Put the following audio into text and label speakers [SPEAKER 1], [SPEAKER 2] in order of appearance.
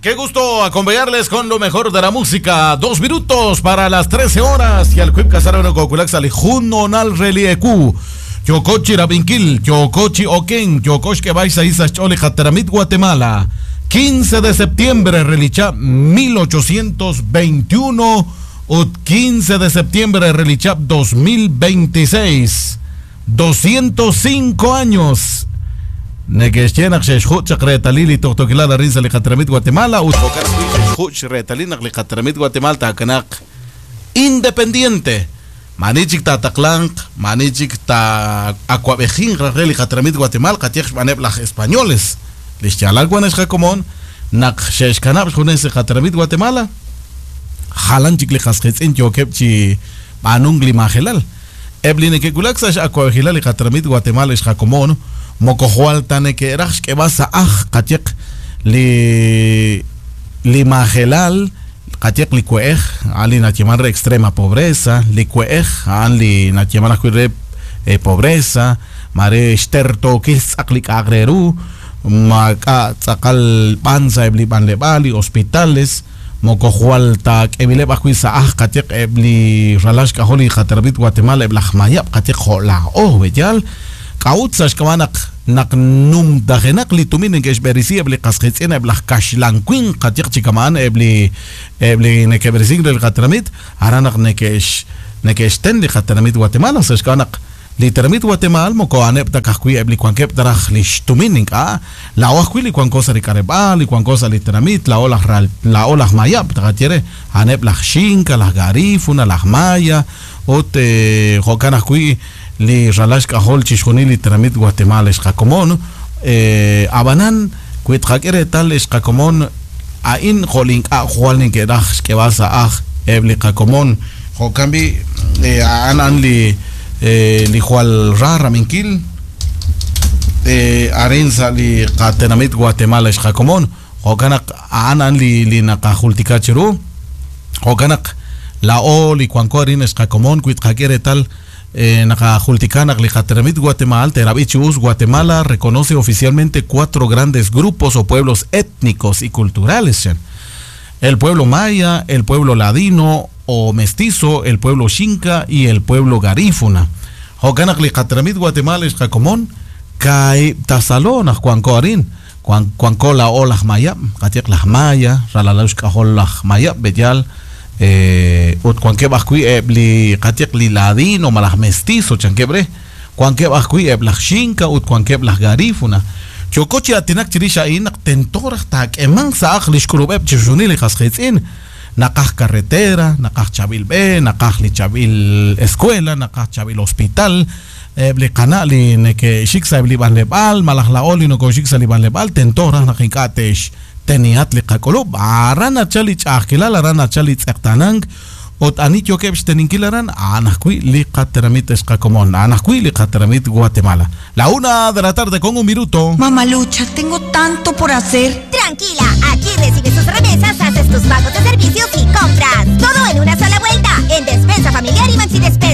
[SPEAKER 1] Qué gusto acompañarles con lo mejor de la música. 2 minutos para las 13 horas. Y al Cuip Casarano Coculax Juno Nal Relieku. Yokochi Rabinkil, Yokochi Oken, Yokosh que vais a Isacholi Jataramit, Guatemala. 15 de septiembre, Relicha 1821. Ut 15 de septiembre, Relichap 2026. 205 años. Neke'xye naq xe'xjuch' chaq reetalil li tuqtuukilal arin sa' li qatenamit Guatemala ut jo'kan ajwi' xe'xjuch' reetalil naq li qatenamit Guatemala taakanaaq independiente. Maani chik taataqlanq, maani chik taa'awab'ejinq raj re li qatenamit Guatemala qayehaq xb'aaneb' laj españoles. Li xyaalal wan xqakomon naq xe'xkanab' xjunes li qatenamit Guatemala, jalan chik li qas qiitz'in yookeb' chi b'aanunk li maajelal. Eb' li neke'wulak sa' x'awab'ejilal li qatenamit Guatemala xqakomon moko jwal ta neke'raj xk'eb'al sa' aj qayehaq li maajelal, qayehaq li we'ej, a'an li nayeeman re extrema pobreza, li we'ej a'an li nayeeman ajwi' re pobreza, mare xtertookil xtz'aq li k'a'aq re ru, maak'a' tz'aqal b'an sa' eb' li b'anleb'aal, li hospitales, moko jwal ta k'eb'ileb' ajwi' sa' aj qayehaq eb' li ralal xk'ajol li qatenamit Guatemala, eb' laj mayab' qayehaq jo' laa'o, b'eyal. K'a'ut sa' xk'ab'a' naq numtajenaq li tumin neke'xb'eresi eb' li qas qiitz'in, eb' laj kaxlan winq qayehaq chi kama'an eb' li neke'b'eresink re li qatenamit, aran naq neke'xten li qatenamit Guatemala sa' xk'ab'a' naq li tenamit Guatemala moko a'aneb' ta ka'ajwi' eb' li wankeb' ta raj li xtumin ink'a', laa'o ajwi' li wanko sa' li k'aleb'aal, li wanko sa' li tenamit, laa'o laj ral, laa'o laj mayab' taqaye re, a'aneb' laj Xinka, laj Garífuna, laj Maya, ut jo'kan ajwi' li ralal xk'ajol chixjunil li tenamit Guatemala xqakomon. Ab'anan wi tqak'e reetal xqakomon a'in jo' li ink'a' jwal neke'raj xk'eb'al sa' aj eb' li qakomon, jo'kan b'i' a'an a'an li jwal ra raminkil arin sa' li qatenamit Guatemala xqakomon, jo'kan naq a'an a'an li naqajultika chiru. Jo'kan naq laa'o li wanko arin xqakomon wi tqak'e reetal naqajultika naq li qatenamit Guatemala terab'i chi us. Guatemala reconoce oficialmente cuatro grandes grupos o pueblos étnicos y culturales: el pueblo maya, el pueblo ladino o mestizo, el pueblo xinca y el pueblo garífuna. Jo'kan naq li qatenamit Guatemala xqakomon kaahib' tasalo naq wanko arin. Wanko laa'o laj mayab', qayehaq laj maya, ralal xk'ajol laj mayab' b'eyal, ut wankeb' ajwi' eb' li qayehaq li ladino malaj mestizo chankeb' re, wankeb' ajwi' eb' laj xinca ut wankeb' laj garífuna. Yooko chi aatinak chirix a'in naq tento raj taak'emanq sa' aj li xk'ulub'eb' chixjunil li qas qiitz'in. Naqaj carretera, naqaj chaab'il b'e, naqaj li chaab'il escuela, naqaj chaab'il hospital. Eb' li qana' li neke'xik sa' eb' li b'anleb'aal malaj laa'o li nokoxik sa' li b'anleb'aal tento raj naq ink'a' te'xtenihat li qak'ulub'. Aran nachal li ch'a'ajkilal, aran nachal li tz'eqtaanank ut ani yookeb' xteninkil aran, a'an ajwi' li qatenamit xqakomon, a'an ajwi' li qatenamit Guatemala. La 1 de la tarde con un minuto.
[SPEAKER 2] Mamalucha, tengo tanto por hacer.
[SPEAKER 3] Tranquila, aquí recibes tus remesas, haces tus pagos de servicios y compras. Todo en una sola vuelta. En Despensa Familiar y Maxi Despensa.